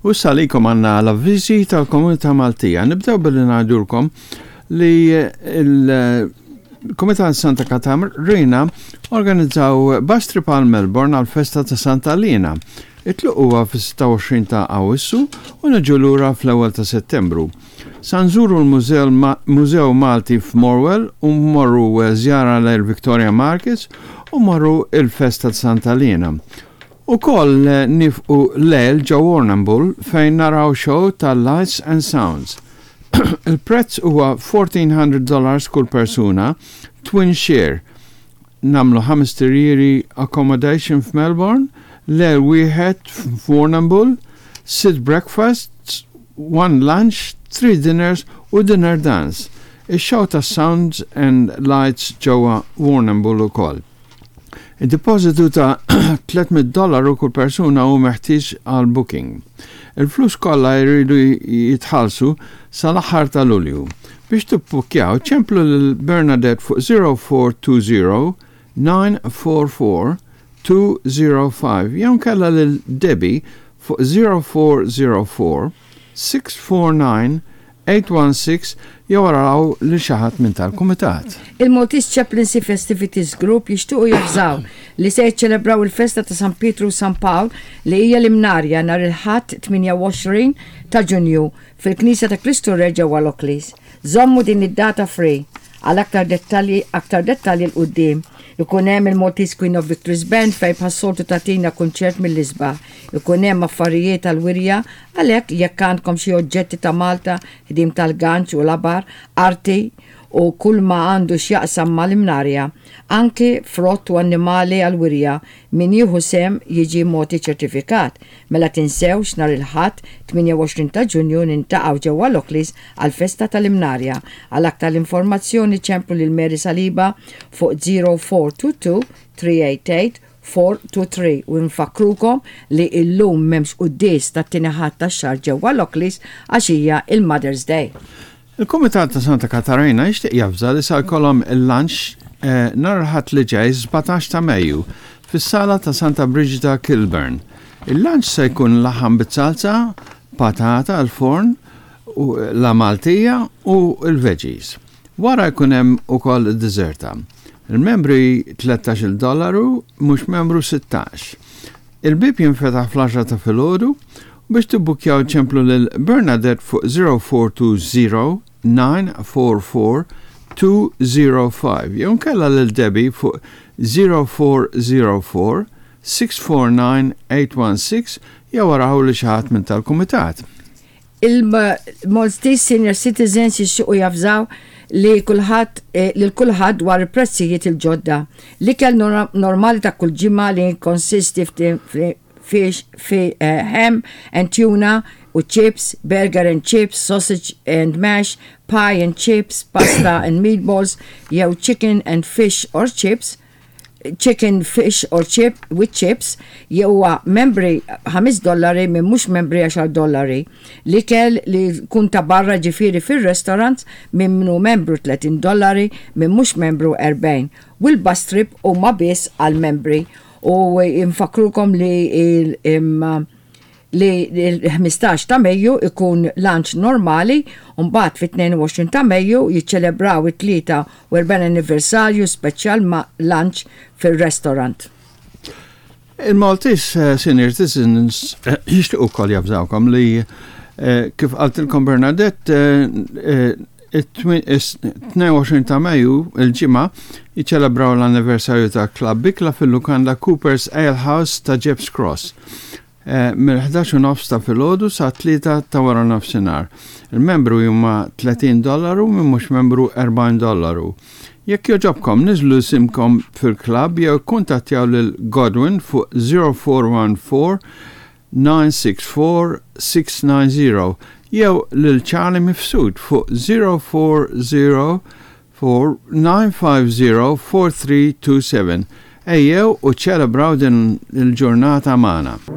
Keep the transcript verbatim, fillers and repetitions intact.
U għalikom għandna l-avviżi tal-Komunità Maltija. Nibdew billi ngħidulkom li il-Komitat Santa Katarina organizzaw bus trip għal Melbourne għal festa ta' Santa Lina. It-tluq huwa fis-sitta u għoxrin ta' Awwissu u niġu lura fl-ewwel ta' Settembru. Sa nżuru l-Mużew Malti f'Morwell u mmorru żjara l Victoria Markets u mmorru il-festa ta' Santa Lina. Ukoll nieqfu lejl ġo Warrnambool fejn naraw show ta' Lights and Sounds. Il-prezz huwa elf u erba' mija dollars kull persuna, twin share. Nagħmlu ħames tirjiri accommodation f'Melbourne, lejl wieħed f'Warrnambool, sitt breakfasts, one lunch, three dinners u dinner dance. Ix-show ta' Sounds and Lights ġewwa Warrnambool ukoll. Il-depositu ta' tliet mitt dollaru kull persuna hu meħtieġ għal booking. Il-flus kollha jridu jitħallsu sal-aħħar ta' Lulju. Biex tibbukkjaw, ċemplu lil Bernadette fuq zero four two zero nine four four two zero five jew kella lil Debbie fuq zero four zero four six four nine eight one six jew araw li xi ħadd minn tal-kumitat. Il-Maltese Chaplaincy Festivities Group jixtuqu javżaw li se jiċċelebraw il-festa ta' San Pietru u San Pawl, li hija l-Imnarja, nhar il-Ħadd tmienja u għoxrin ta' Ġunju fil-Knisja ta' Kristu Re ġewwa Lockleys. Żommu din id-data free għal aktar dettalji aktar dettalji 'l quddiem. Ikun hemm il-Maltese Queen of Victories Band fejn bħas-soltu tagħtina kunċert mill-isbaħ. Ikun hemm affarijiet tal-wirja, għalhekk jekk għandkom xi oġġetti ta' Malta, ħdim tal-ganċ u labar, arti u kull ma għandu x'jaqsam mal-Imnarja, anki frott u annimali għal-wirja, min jieħu sehem jiġi mogħti ċertifikat. Mela tinsewx, nhar il-Ħadd tmienja u għoxrin ta' Ġunju niltaqgħu ġewwa Lockleys għal-festa tal-Imnarja. Għal aktar informazzjoni ċemplu lil Mary Saliba fuq zero four two two three eight eight four two three u nfakkrukom li illum m'hemmx quddies tat-tieni Ħadd tax-xahar ġewwa Lockleys għax hija il-Mother's Day. Il-Kumitat ta' Santa Katarina jixtieq javża li sa jkollhom il-lunch eh, nhar il-Ħadd li ġej, sbatax ta' Mejju, fis-sala ta' Santa Brigida, Kilburn. Il-lunch se jkun laħam bit-salsa, patata al-forn, u la Maltija u l-veggies. Wara jkun hemm ukoll id-deżerta. Il-membri tlettax-il dollaru, mhux membru sittax. Il-bib jinfetaħ fl-għaxra ta' filgħodu u biex tibbukkjaw ċemplu lil Bernadette fuq zero four two zero nine four four two zero five jew kella lil Debbie fuq zero four zero four six four nine eight one six jew araw li xi ħadd minn tal-kumitat. Il-Maltese Senior Citizens jixtiequ javżaw li kulħadd eh, lil kulħadd dwar il-prezzijiet il-ġodda. L-ikel normali ta' kull ġimgħa li konsisti fish, fi uh, ham and tuna u chips, burger and chips, sausage and mash, pie and chips, pasta and meatballs, jew chicken and fish or chips, chicken, fish or chip with chips, jew membri ħames dollari, minn mhux membri għaxar dollari. L-ikel li kun ta' barra, ġifieri fil-restaurant, minn minnu membru tletin dollari, minn mhux membru erbgħin. U l-bus trip huma biss għal membri u infakkrukom li il, im, li il-ħmistax ta' Mejju ikun lunch normali u mbagħad fit-tnejn u għoxrin ta' Mejju jiċċelebraw it-tlieta u erbgħin anniversarju speċjal ma' lunch fil-restaurant. Il-Maltese eh, Senior Citizens eh, jixtiequ ukoll javżawkom li eh, kif qaltilkom Bernadette, it-tnejn u għoxrin ta' Mejju, il-Ġimgħa, jiċċelebraw l-anniversarju ta' Club Bikla fil-lukanda Cooper's Ale House ta' Gepps Cross. Mill-ħdax u nofs ta' filgħodu sa' tlieta ta' wara nofsinhar. Il-membru huma tletin dollaru, minn mhux membru erbgħin dollaru. Jekk jogħġobkom niżlu isimkom fil-klabb jew kuntattjaw lil Godwin fuq zero four one four nine six four six nine zero jew lil Charlie Mifsud fuq zero four zero four nine five zero four three two seven. Ejjew u ċelebraw din il-ġurnata magħna.